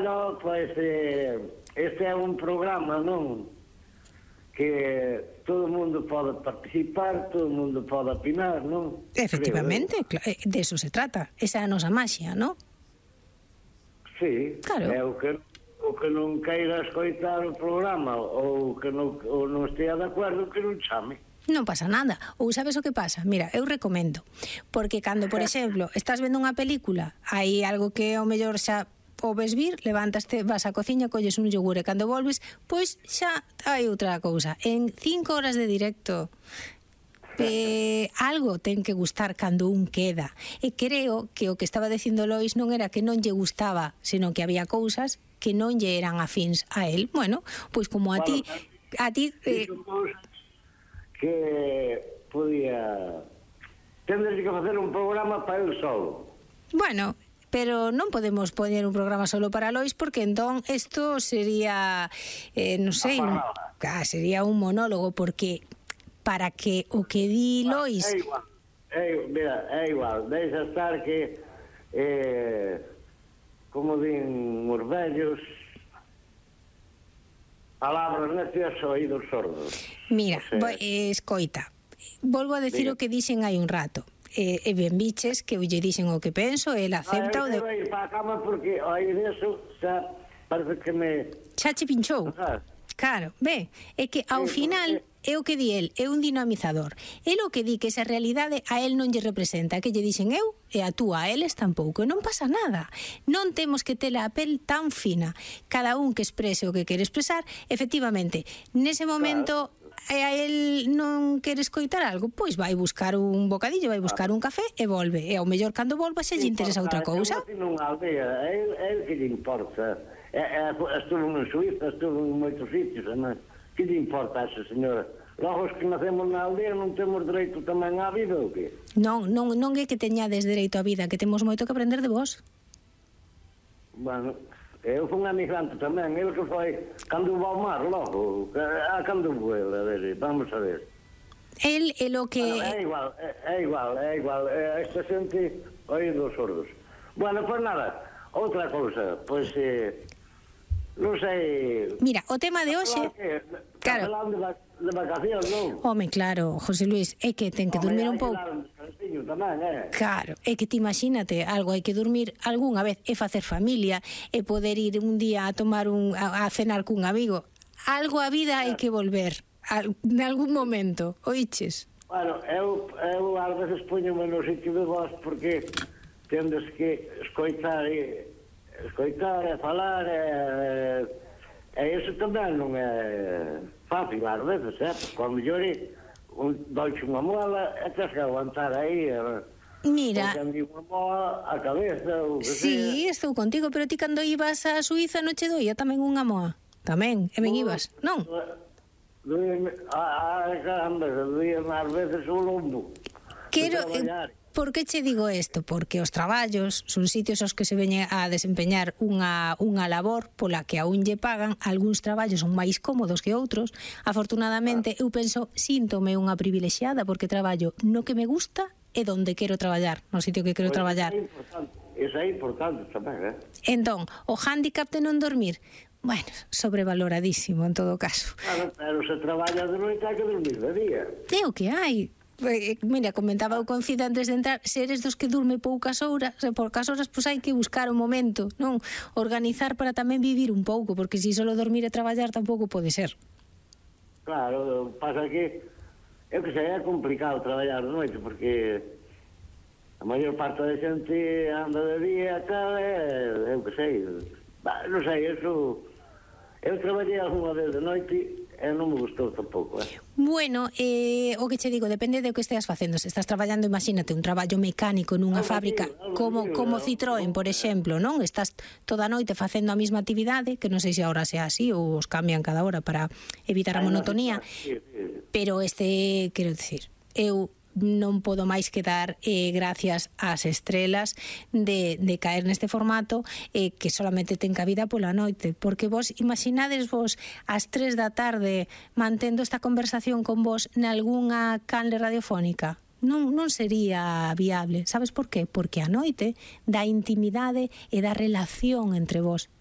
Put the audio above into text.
Bueno, pois este é un programa, non? Que todo o mundo pode participar, todo o mundo pode opinar, non? Efectivamente, de eso se trata. Esa é a nosa maxia, non? Sí, claro. É o que non queira escoitar o programa ou que non estea de acordo, que non chame. Non pasa nada. Ou sabes o que pasa? Mira, eu recomendo. Porque cando, por exemplo, estás vendo unha película, hai algo que ao mellor xa o ves vir, levantaste, vas á cociña, colles un yogur e cando volves, pois xa hai outra cousa. En 5 horas de directo, algo ten que gustar cando un queda. E creo que o que estaba dicindo Lois non era que non lle gustaba, senón que había cousas que non lle eran afíns a él. Bueno, pois como a ti que podía tendres que facer un programa para el solo. Bueno, pero non podemos poñer un programa solo para Lois porque entón isto sería non sei, sería un monólogo, porque para que o que di Lois é igual, deixa estar que como din os vellos, palabras necias, oídos sordos. Mira, escoita, volvo a decir o que dixen hai un rato. E ben biches que lle dixen o que penso, el acepta o de... Eu ir para a cama porque aí deso xa parece que me... Xa che pinchou. Claro, ve, é que ao final é o que di el, é un dinamizador. El o que di que esa realidade a el non lle representa, que lle dixen eu e a tú a eles tampouco, e non pasa nada. Non temos que ter a pel tan fina. Cada un que exprese o que quere expresar, efectivamente, nese momento... e a el non quere escoitar algo, pois vai buscar un bocadillo, vai buscar un café e volve. E ao mellor cando volva se lle interesa outra cousa. Nunha aldea, é que lle importa. Estuvo en Suíza, estuvo en moitos sitios, que lle importa a esa señora? Logo os que nacemos na aldea non temos dereito tamén á vida ou que? Non é que teñades dereito á vida, que temos moito que aprender de vos. Bueno, eu fui un emigrante tamén, el que foi cando vou ao mar logo, cando vou, a ver, vamos a ver. El é lo que... Bueno, é igual, esta xente oídos sordos. Bueno, pois nada, outra cousa, pois, non sei... Mira, o tema de hoxe... Claro. De vacacións, non? Home, claro, José Luis, é que ten que dormir un pouco. Tamén, claro, é que te imagínate algo, hai que dormir algunha vez e facer familia e poder ir un día a tomar a cenar cun amigo. Algo a vida hai que volver en algún momento, oíches? Bueno, eu ás veces poñome no sitio de vos porque tendes que escoitar e falar e iso tamén non é fácil ás veces, cando llore doiche unha mola e tens que aguantar aí mira, unha mola a cabeza ou que sí, estou contigo, pero ti cando ibas a Suíza non che doía tamén unha moa? Tamén, e ben ibas, non? Caramba, doía ás veces o lombo. Por que che digo isto? Porque os traballos son sitios aos que se veñen a desempeñar unha labor pola que aún lle pagan. Algúns traballos son máis cómodos que outros. Afortunadamente, eu penso, síntome unha privilexiada porque traballo no que me gusta e donde quero traballar, no sitio que quero traballar. Eso é importante tamén, Entón, o hándicap de non dormir, bueno, sobrevaloradísimo en todo caso. Claro, pero se traballa de noite hai que dormir de día. É o que hai. Mira, comentaba o con Cida antes de entrar, se eres dos que durme poucas horas, pois hai que buscar o momento, non? Organizar para tamén vivir un pouco, porque se solo dormir e traballar tampouco pode ser. Claro, pasa que eu que sei, é complicado traballar de noite porque a maior parte da xente anda de día, tal, eu que sei, non sei, eso eu traballei algunha vez de noite e non me gustou tampouco, Bueno, o que che digo, depende do que esteas facendo. Se estás traballando, imagínate, un traballo mecánico nunha fábrica como Citroën, por exemplo, non? Estás toda a noite facendo a mesma actividade, que non sei se agora sea así ou os cambian cada hora para evitar a monotonía, pero quero dicir, eu non podo máis que dar gracias ás estrelas de caer neste formato que solamente ten cabida pola noite, porque vos imaginades vos ás 3 da tarde mantendo esta conversación con vos nalgúnha canle radiofónica? Non sería viable. Sabes por qué? Porque a noite dá intimidade e dá relación entre vos.